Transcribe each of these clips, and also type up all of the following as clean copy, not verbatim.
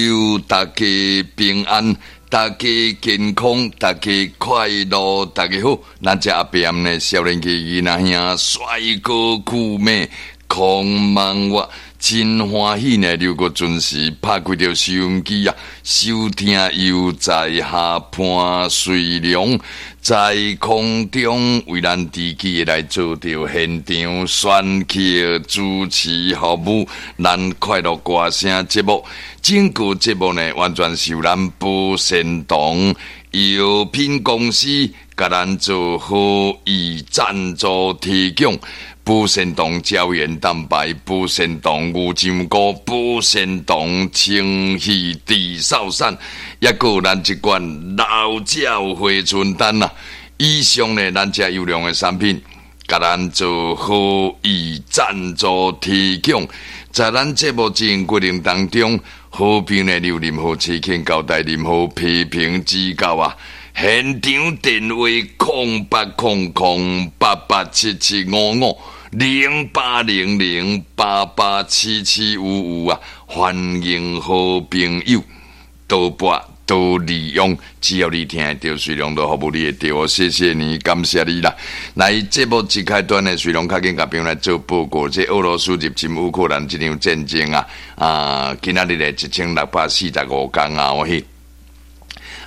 友，大家平安，大家健康，大家快樂，大家好。咱這阿伯暗呢，少年家囡仔兄，帥哥酷妹，空茫我真歡喜呢，劉國準時拍開著收音機啊，收聽悠哉下潘瑞良在空中為咱自己來做著現場選曲主持服務，咱快樂歌聲節目，整個節目呢，完全是由咱保鮮堂藥品公司共咱做好意贊助提供。保鮮堂膠原蛋白、保鮮堂牛樟菇、保鮮堂清氣治嗽散，抑閣有咱這款老鳥回春丹啊！以上呢，咱這優良的產品，共咱做好意贊助提供。在咱節目進行過程當中，好朋友有任何意見交代、任何批評指教啊！現場電話08008877550800887755啊！歡迎好朋友多撥多利用，只要你聽得著，瑞良都服務你會著哦。謝謝你，感謝你啦！來，節目一開端呢，瑞良較緊共朋友來做報告，這俄羅斯入侵烏克蘭這場戰爭啊，啊，今仔日咧1645工啊，我去。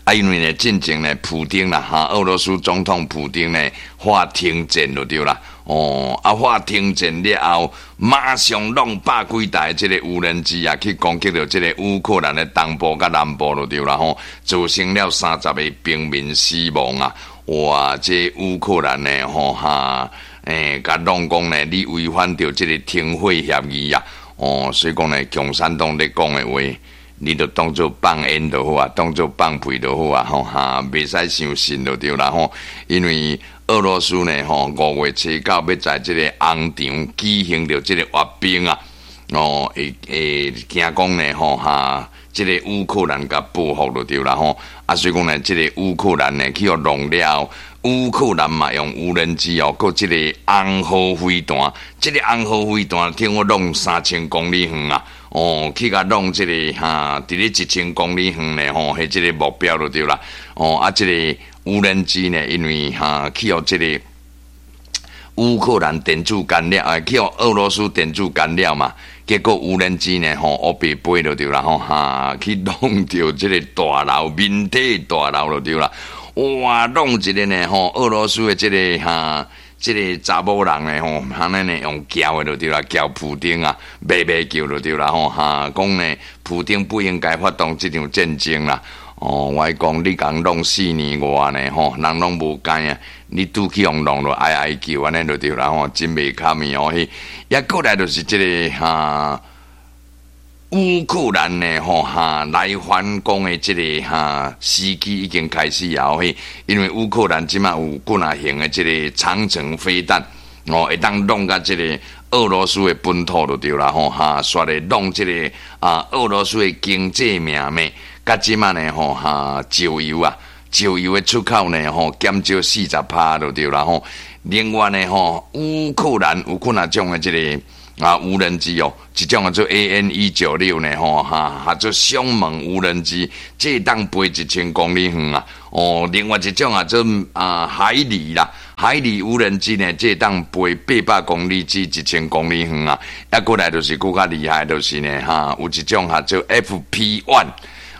啊，因為呢，進前呢，普丁啦，哈，俄羅斯總統普丁呢，喊停戰就對啦。哦，啊，喊停戰了後，馬上弄百幾台這个無人機啊，去攻擊著這个烏克蘭的東部佮南部就對啦吼，造成了30個平民死亡啊！哇，這烏克蘭呢，吼哈，欸，共弄講呢，你違反著這个停火協議啊！哦，所以講呢，共產黨咧講的話，你就當做放煙就好啊，當做放屁就好啊，吼哈，袂使相信就對啦吼。因為俄羅斯呢，吼5月29欲在這個紅場舉行著這個閱兵啊，哦，會會驚講呢，吼哈，這個烏克蘭共報復就對啦吼。啊，所以講呢，這個烏克蘭呢去予弄了，烏克蘭嘛用無人機哦，閣這個紅號飛彈，這個紅號飛彈聽講弄3000公里遠啊。哦，去共弄這個哈，佇咧1000公里遠呢，吼，彼這个目標就對啦。哦，啊，這個無人機呢，因為哈去予這個烏克蘭電子干擾，啊，去予俄羅斯電子干擾嘛，結果無人機呢，吼，烏白飛就對啦，吼，哈，去弄著這个大樓，民宅大樓就對啦。哇，弄一个呢，吼，俄羅斯的這个哈。這个查某人呢，吼，按呢呢用叫的就對啦，叫普丁啊，欲欲叫就對啦，吼哈，講呢，普丁不應該發動這場戰爭啦。哦，我講你共弄4年外呢，吼，人攏無知啊，你拄去予弄落哀哀叫按呢就對啦，吼，真袂堪的哦。彼，抑閣來就是這个哈。烏克蘭呢，吼哈來反攻的這个哈時機已經開始啊！嘿，因為烏克蘭這馬有幾若型的這个長程飛彈，哦，會當弄共這个俄羅斯的本土就對啦，吼哈，煞咧弄這个啊俄羅斯的經濟命脈，佮這馬呢，吼哈，石油啊，石油的出口呢，吼減少40%就對啦，吼。另外呢，吼烏克蘭有幾若種的這个啊，無人機哦，一種叫做 AN 196呢，吼哈，叫做凶猛無人機，這會當飛1000公里遠啊。哦，另外一種啊做啊海狸啦，海狸無人機呢，這會當飛800公里至1000公里遠啊。抑閣來就是閣較厲害，就是呢，哈，有一種叫做 FP-1。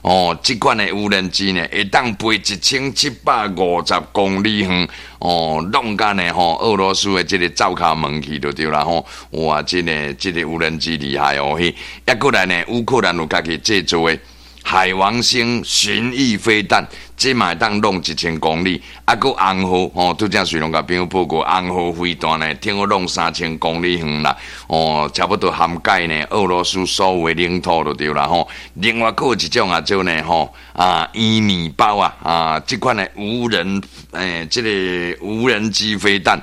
哦，這款的無人機呢，會當飛1750公里遠，哦，弄共呢吼，俄羅斯的這个灶跤門去就對啦吼。哇，這个這个無人機厲害哦，彼，抑閣來呢，烏克蘭有家己製造的海王星巡弋飛彈，這嘛會當弄1000公里，啊，閣紅號吼，拄才瑞良共朋友報告，紅號飛彈呢，聽講弄3000公里遠啦，哦，差不多涵蓋呢俄羅斯所有的領土就對啦吼。另外，閣有一種啊，做呢吼啊，伊米包啊啊，這款的無人欸，這个無人機飛彈，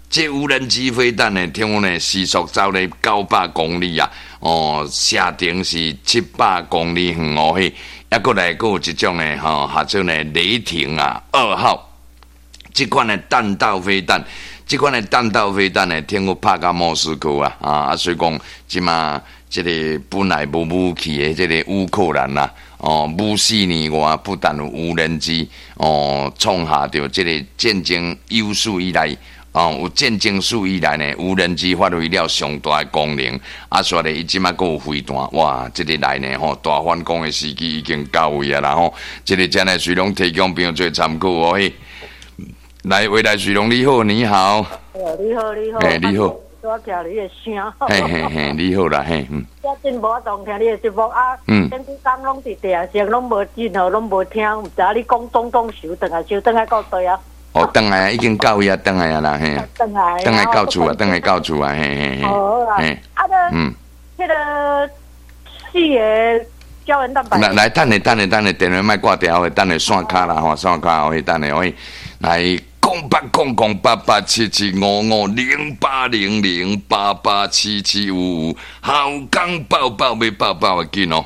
這無人機飛彈呢，聽講呢時速走咧900公里啊。哦，射程是700公里遠哦，彼，抑閣來閣有一種呢，吼，叫做呢雷霆啊2號，這款的彈道飛彈，這款的彈道飛彈呢，聽講拍到莫斯科啊，啊，所以講這馬。這个本來無武器的這个烏克蘭啦，哦，五四年外不但有無人機哦，創下著這个戰爭有史以來，哦，有戰爭史以來呢，無人機發揮了上大的功能。啊，煞咧伊這擺閣有飛彈，哇！這个來呢吼，大反攻的時機已經到位啊啦吼。這个真係隨攏提供朋友做參考哦嘿。來，未來水龍你好，你好。你好，你好。嘿，你好。我聽你的聲。嘿嘿嘿，你好啦，嘿，嗯。最近無法度聽你的節目啊，前幾工攏佇地下，攏無任何攏無聽，毋知影你講東東收轉來，收轉來到佗啊？哦，轉來已經到位啊，轉來啊啦，嘿。轉來。轉來到厝啊，轉來到厝啊，嘿嘿嘿。好啊。啊，彼个四个膠原蛋白。來來，等下等下等下，電話莫掛掉，等下線卡啦吼，線卡哦，等下，來。08008877550800887755，好講爆爆欲爆爆的緊哦。